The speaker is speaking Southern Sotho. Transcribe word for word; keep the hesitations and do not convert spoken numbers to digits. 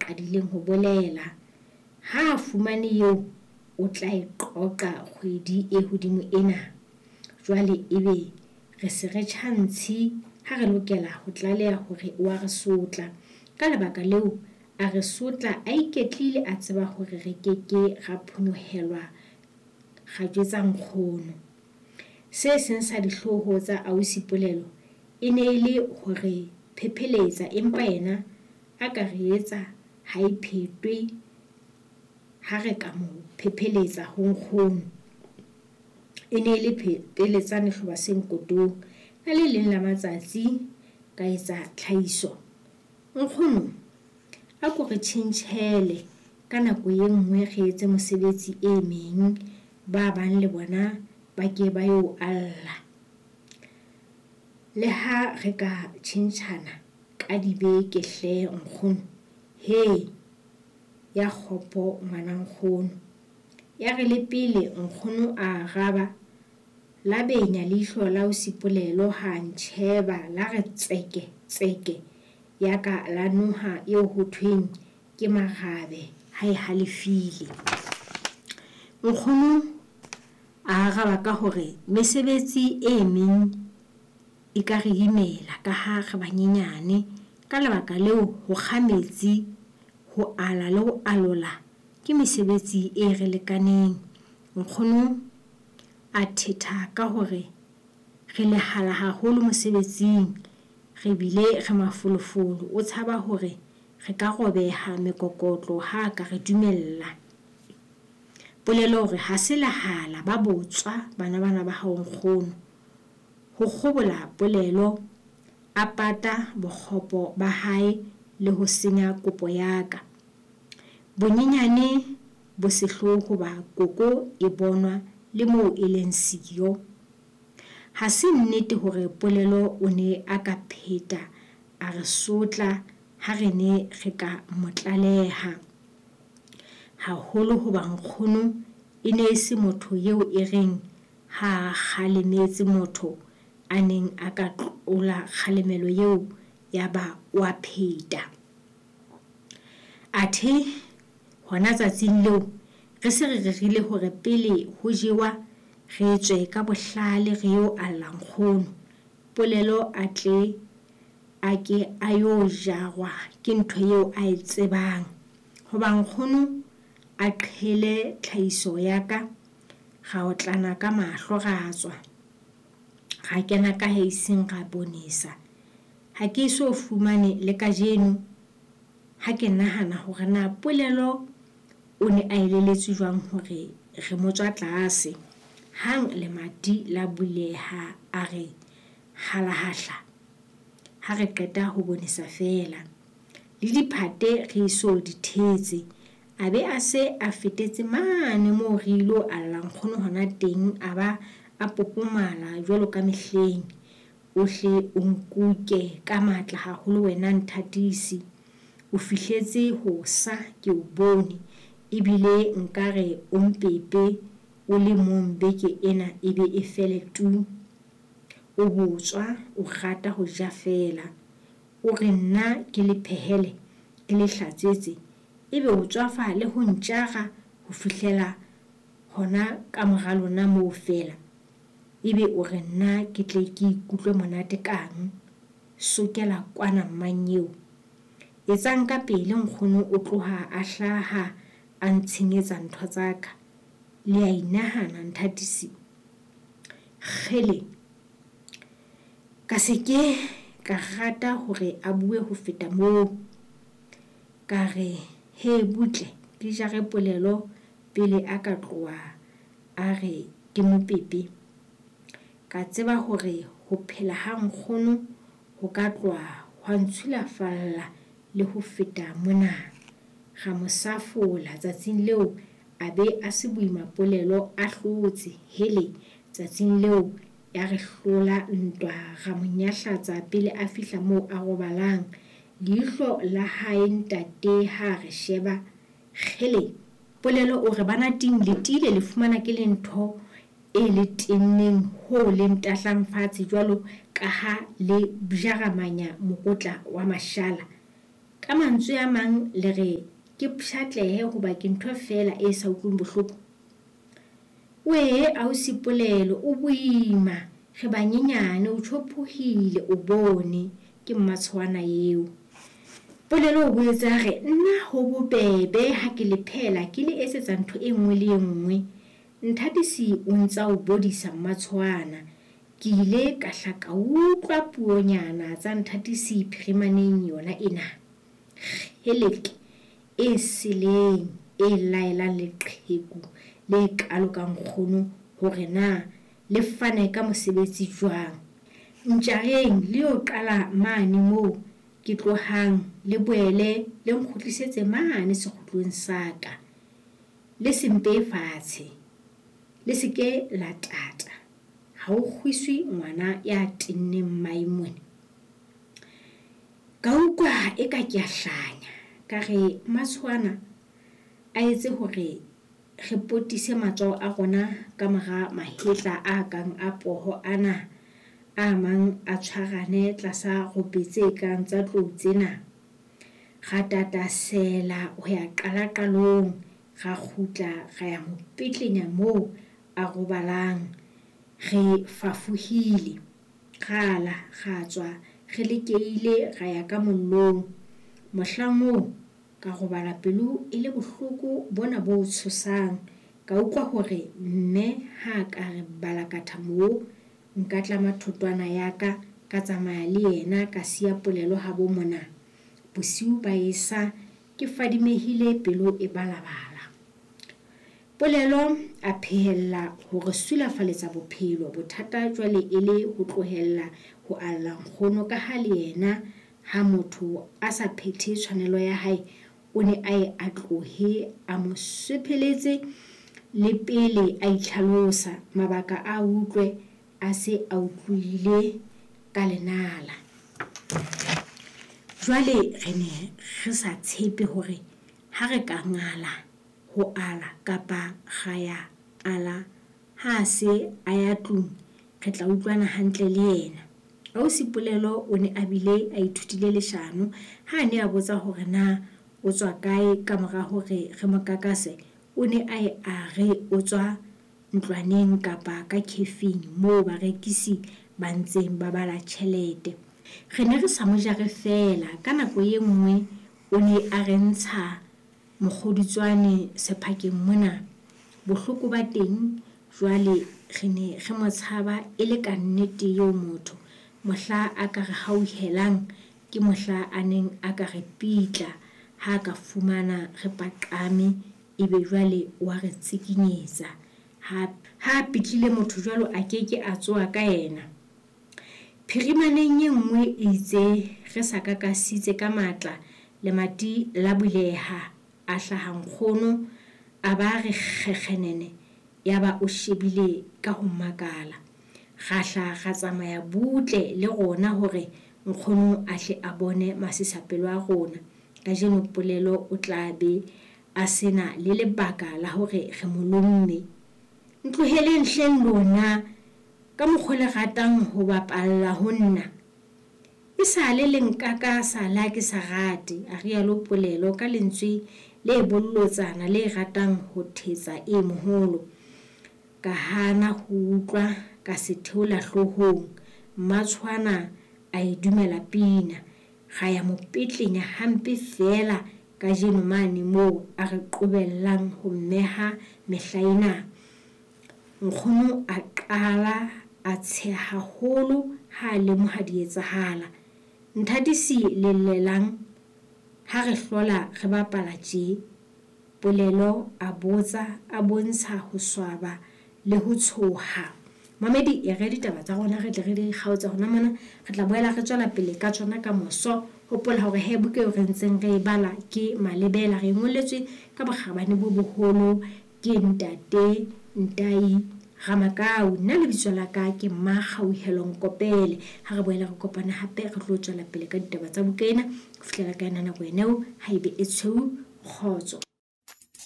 qadileng ho bolela. Ha a fumane eo o tla e qoqa kgwedi e hodimo ena. Jwale ebe re se re tjhantshi ha re lokela ho tlaleha hore o a re sotla. Ka lebaka leo a re sotla a iketlile a tseba hore re ke ke ra phonyohelwa ra jwetsa nkgono. Se seng sa dihlooho tsa ausi Polelo e ne e le hore phepheletsa, empa yena a ka re etsa ha e phetwe ha re ka mo phepheletsa ho nkgono. E ne e le pheletsane hloba se nkotong. Ka le leng la matsatsi ka etsa tlhahiso. Nkgono, a ko re tjhentjhele ka nako e nngwe re etse mosebetsi e meng, ba bang le bona ba ke ba yo alla. Le ha re ka tjhentjhana ka dibeke hle nkgono. He, ya kgopo ngwana nkgono. Ya re le pele nkgono a araba, la benya leihlo la ausi Polelo ha ntjheba la re tseke tseke ya ka la noha eo ho thweng ke marabe ha e halefile. Nkgono a araba ka hore mesebetsi e meng e ka re imela ka ha re banyenyane. Ka lebaka leo ho kga metsi, ho ala le ho alola ke mesebetsi e re lekaneng. Nkgono a thetha ka hore re lehala haholo mosebetsing, re bile re mafolofolo. O tshaba hore re ka robeha mekokotlo ha ka re dumella. Polelo hore ha se lehala ba botswa bana bana ba hao nkgono. Ho kgobola Polelo a pata bokgopo ba hae le ho senya kopo ya ka. Bonyenyane bo sehloho hoba koko e bonwa le moo e leng siyo. Ha se nnete hore Polelo o ne a ka pheta a re sotla ha re ne re ka mo tlaleha. Haholo hoba nkgono e ne e se motho eo e reng ha a kgalemetse motho a neng a ka tlola kgalemelo eo ya ba o a pheta. Athe hona tsatsing leo re se re rerile hore pele ho jewa re tswe ka bohlale re yo alla nkgono. Polelo a tle a ke a yo jarwa ke ntho eo a e tsebang. Hoba nkgono a qhele tlhahiso ya ka, ra otlana ka mahlo ra tswa. Ra kena ka heising ra bonesa. Ha ke so fumane le kajeno ha ke nahana hore na Polelo o ne a elelletswe jwang hore re mo tswa tlase. Hang lemati la buleha a re halahahla ha re qeta ho bonesa feela. Le diphate re so di thetse. A be a se a fetetse mane moo re ilo alla nkgono hona teng, a ba a popomala jwalo ka mehleng. O hle o nkuke ka matla haholo wena nthatisi. O fihletse ho sa ke o bone, ebile nkare o mpepe o le mong beke ena e be e fele tu. O botswa, o rata ho ja feela. O re nna ke le phehele, ke le hlatswetse, ebe o tswafa le ho ntjara ho fihlela hona ka mora lona moo feela. Ebe o re nna ke tle ke ikutlwe monate kang. Sokela kwana mmanyeo. Etsang ka pele nkgono o tloha a hlaha a ntshenyetsa ntho tsa ka. Le a inahana nthatisi. Kgele. Ka se ke ka rata hore a bue ho feta moo. Ka re he butle ke jare Polelo pele a ka tloha a re ke mopepe. Ka tseba hore ho phela ha nkgono ho ka tloha hwa ntshulafalla le ho feta mona. Ra mo safola tsatsing leo a be a se boima Polelo a hlotse. Hele, tsatsing leo ya re hlola ntwa ra mo nyahlatsa pele a fihla moo a robalang. Leihlo la hae ntate ha re sheba. Kgele, Polelo o re bana ting le tiile le fumana ke le ntho e le tenneng ho le ntahlang fatshe jwalo ka ha le bjaramanya mokotla wa mashala. Ka mantswe a mang le re ke pshatlehe hoba ke ntho feela e sa utlweng bohloko. Wee ausi Polelo o boima, re banyenyane o tjhophohile o bone, ke mmatshwana eo. Polelo o boetse a re nna ho bobebe ha ke le phela ke le etsetsa ntho e nngwe le e nngwe. Nthatisi o ntsa o bodisa mmatshwana. Ke ile ka hla ka utlwa puonyana tsa Nthatisi phirimaneng yona ena. Kgeleke e seleng e laelang leqheku le kalo ka nkgono hore na le fane ka mosebetsi jwang. Ntjareng le yo qala mane moo ke tlohang le boele le nkgutlisetse mane sekgutlong sa ka. Le se mpe fatshe, le se ke la tata. Ha o kgwiswe ngwana ya tenneng mmae mona. Ka utlwa eka ke a hlanya, ka re mmatshwana a etse hore re potise matsoho a rona ka mora mahetla a kang a poho ana, a mang a tshwarane tlasa rope tse kang tsa tlou tsena. Ra tatasela ho ya qala qalong, ra kgutla ra ya mo petlenya moo a robalang. Re fafohile, ra la, ra tswa, re lekeile ra ya ka mollong. Mohlang oo ka robala pelo e le bohloko bona bo tshosang. Ka utlwa hore mme ha ka re balakatha moo, nka tlama thotwana ya ka, ka tsamaya le yena ka siya Polelo habo mona. Bosiu ba esa ke fadimehile pelo e balabala. Polelo a phehella hore sulafaletsa bophelo, bothata jwale e le ho tlohella ho alla nkgono ka ha le yena ha motho a sa phethe tshwanelo ya hae, o ne a ye a tlohe a mo swepheletse le pele a itlhalosa mabaka a utlwe a se a utlwile ka lenala. Jwale re ne re sa tshepe hore ha re ka ngala ho ala kapa ra ya ala ha se a ya tlung re tla utlwana hantle le yena. Ausi Polelo o ne a bile a ithutile leshano ha a ne a botsa hore na o tswa kae ka mora hore re mo kakase, o ne a ye a re o tswa ntlwaneng kapa ka khefing moo barekisi ba ntseng ba bala tjhelete. Re ne re sa mo jare feela, ka nako e nngwe o ne a re ntsha mokgodutswane sephakeng mona. Bohloko ba teng jwale re ne re mo tshaba e le ka nnete eo motho. Mohla a ka re hauhelang ke mohla a neng a ka re pitla ha ka fumana re paqame ebe jwale wa re tsikinyetsa. Ha ha pitlile motho jwalo a keke a tsoha ka yena. Phirimaneng e nngwe itse re sa kakasitse ka matla, lemati la buleha, a hlaha nkgono a ba re kgekgenene, yaba o shebile ka ho makala. Ra hla ra tsamaya butle le rona hore nkgono a hle a bone masisapelo a rona. Kajeno Polelo o tla be a sena le lebaka la hore re mo lomme. Ntloheleng hleng lona ka mokgwa le ratang ho bapalla ho nna. E sale le nkakasa la ke sa rate, a rialo Polelo ka lentswe le bollotsana le ratang ho thetsa e moholo. Ka hana ho utlwa ka se theola hloohong. Mmatshwana a e dumela pina. Ra ya mo petlenya hampe feela kajeno mane moo a re qobellang ho mmeha mehla ena. Nkgono a qala a tsheha haholo ha a lemoha di etsahala. Nthatisi le llelang ha re hlola re bapala tje? Polelo a botsa a bontsha ho swaba le ho tshoha. Mamedi e re ditaba tsa rona re tle re di kgaotse hona mona, re tla boela re tswela pele ka tsona ka moso. Hopola hore he buka eo re ntseng re e bala ke Malebela, re ngoletswe ka bokgabane bo boholo ke ntate Ntai Ramakau. Nna lebitso la ka ke Mmakgauhelo Nkopele. Ha re boela re kopana hape re tlo tswela pele ka ditaba tsa buka ena. Ho fihlela ka yona nako ena eo, ha ebe e tshweu, kgotso.